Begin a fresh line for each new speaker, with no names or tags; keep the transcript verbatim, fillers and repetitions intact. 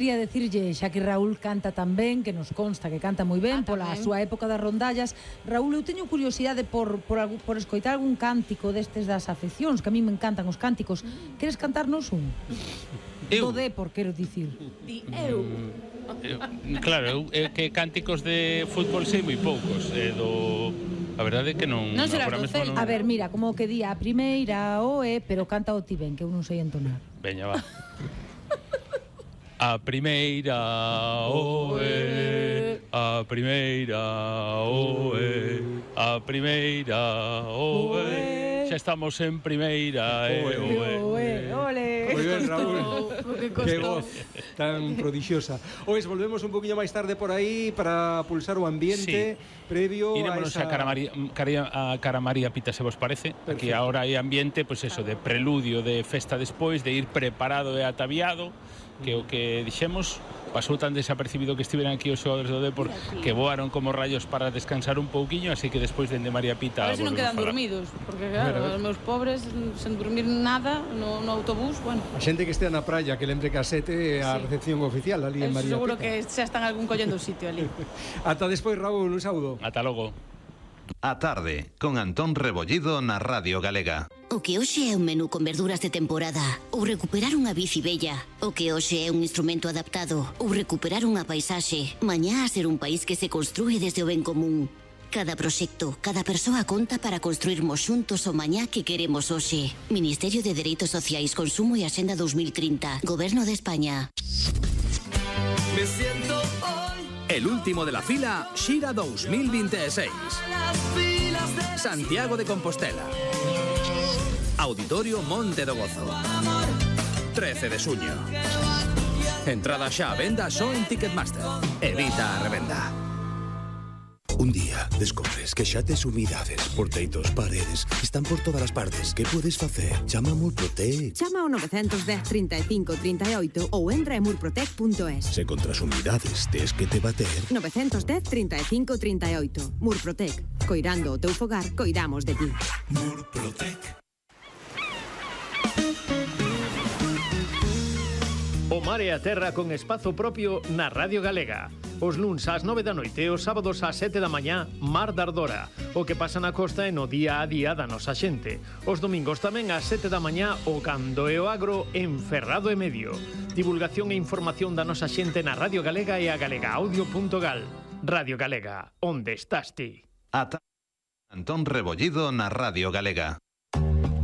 Quería decirlle, xa que Raúl canta tan ben, que nos consta que canta moi ben,
Ah,
pola
tamén.
súa época das rondallas. Raúl, eu teño curiosidade por, por, algú- por escoitar algún cántico destes das afeccións, que a mí me encantan os cánticos. Queres cantarnos un?
Eu?
Do Depor, quero dicir.
Di eu.
Eu, claro, eu, é que cánticos de fútbol sei moi poucos, e do... A verdade é que non...
Non serás
agora
do
mesmo
Celta.
non-
A ver, mira, como que di a primeira o e, pero canta o ti ben, que eu non sei entonar.
Veña, va. A primeira oe, a primeira oe, a primeira oe. Xa estamos en primeira e oe.
Oe, ole.
Moi ben, Raúl.
Que
Que
costou.
voz tan prodigiosa. Ois, volvemos un poquinho máis tarde por aí para pulsar o ambiente previo
Irémonos
a
a
esa...
Cara María, Cara- a Cara María Pita, se vos parece. Aquí
Perfecto.
agora hai ambiente, pois eso, de preludio, de festa despois, de ir preparado e ataviado, que o que dixemos pasou tan desapercibido que estiveran aquí os xogadores do Depor que voaron como rayos para descansar un pouquiño, así que despois dende María Pita
A ver se non
volvemos
quedan
falar.
dormidos, porque
A ver, a
claro,
ver.
os meus pobres sen dormir nada no, no autobús, bueno.
A xente que estea na praia, que lembre que a sete é a
Sí.
recepción oficial ali en
Eu
María
seguro
Pita.
que xa están algún collendo o sitio ali.
Ata despois, Raúl, un saúdo.
Ata logo.
A tarde, con Antón Rebollido na Radio Galega.
O que hoxe é un menú con verduras de temporada, ou recuperar unha bici bella. O que hoxe é un instrumento adaptado, ou recuperar unha paisaxe. Mañá a ser un país que se construe desde o ben común. Cada proxecto, cada persoa conta para construirmos xuntos o mañá que queremos hoxe. Ministerio de Dereitos Sociais, Consumo e Axenda dos mil trinta. Goberno de España.
Me siento hoy
El último de la fila, Xira dos mil veintiséis.
las filas de
Santiago de Compostela. Auditorio Monte do Gozo. trece de suño. Entrada xa a venda só en Ticketmaster. Evita a revenda.
Un día descubres que xa tes humidades, porteitos, paredes, están por todas as partes. Que podes facer? Chama a Murprotec.
Chama ao nove un cero, trinta e cinco, trinta e oito ou entra en murprotec punto es.
Se contra as humidades tes que te bater.
nove un cero, trinta e cinco, trinta e oito. Murprotec. Coirando o teu fogar, coidamos de ti.
Murprotec.
O mar e a terra con espazo propio na Radio Galega. Os luns ás nove da noite e os sábados ás sete da mañá, Mar da Ardora. O que pasa na costa e no día a día da nosa xente. Os domingos tamén ás sete da mañá, o Cando e o Agro en Ferrado e Medio. Divulgación e información da nosa xente na Radio Galega e a galegaaudio punto gal. Radio Galega, onde estás ti?
A tarde, Antón Rebollido na Radio Galega.